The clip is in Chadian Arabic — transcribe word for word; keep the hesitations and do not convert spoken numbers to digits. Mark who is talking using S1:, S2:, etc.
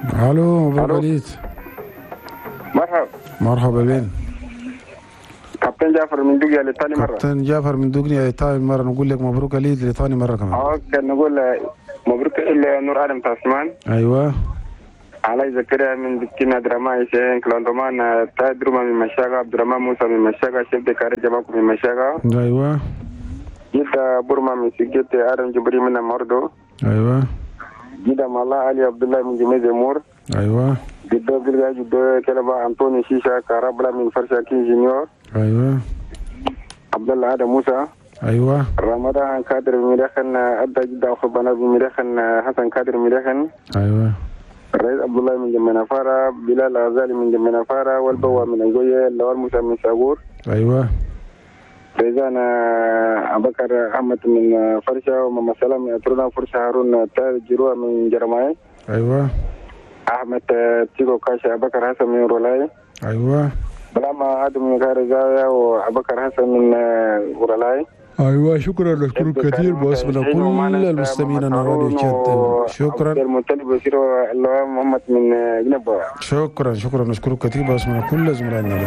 S1: الو، مبروك
S2: ألو.
S1: العيد.
S2: مرحبا.
S1: مرحبا بين.
S2: كابتن جعفر من دوغنيا لثاني مرة.
S1: كابتن جعفر من دوغنيا لثاني مرة، نقول لك مبروك العيد لثاني مرة كمان.
S2: okay، نقول مبروك إلى نور آدم تاسمان.
S1: ايوه.
S2: علي زكريا من بكينا، درما حسين كلاندومان تادروما من مشاغا، عبد الرحمن موسى من مشاغا، chef de carré جماكو من مشاغا.
S1: ايوه.
S2: جدا بورما من سجيت، آدم جبري من مردو.
S1: ايوه.
S2: جدا مالا علي عبد الله من جميز مور.
S1: ايوه.
S2: جدا بلغا جدا كلبا أنطوني شيشا كارابلا من فرشا كين جونيور.
S1: ايوه.
S2: عبد الله آدم موسى.
S1: ايوه.
S2: رمضان كادر ميرخن أدى جدا أخبنا بميرخن حسن كادر ميرخن.
S1: ايوه.
S2: الرئيس عبد الله من جمنا فارا، بلال غزالي من جمنا فارا، والبوا من أنجوية، لوال موسى من ساغور.
S1: ايوه.
S2: فإذا أبو بكر أحمد من فرشة، وماما سلام من أترونا فرشة، هارون تاج جروة من جرماي.
S1: ايوه.
S2: أحمد تيكو كاشا، أبو بكر حسن من رولاي.
S1: ايوه.
S2: بلاما آدم من غير زاوية، وأبو بكر حسن من رولاي.
S1: ايوه، شكرا، نشكرك كثير باسمنا كل المستمعين على راديو تشاد، شكرا.
S2: عبد المطلب بشير اللواء محمد من جنبه.
S1: شكرا شكرا، نشكرك كثير باسمنا كل زملائنا.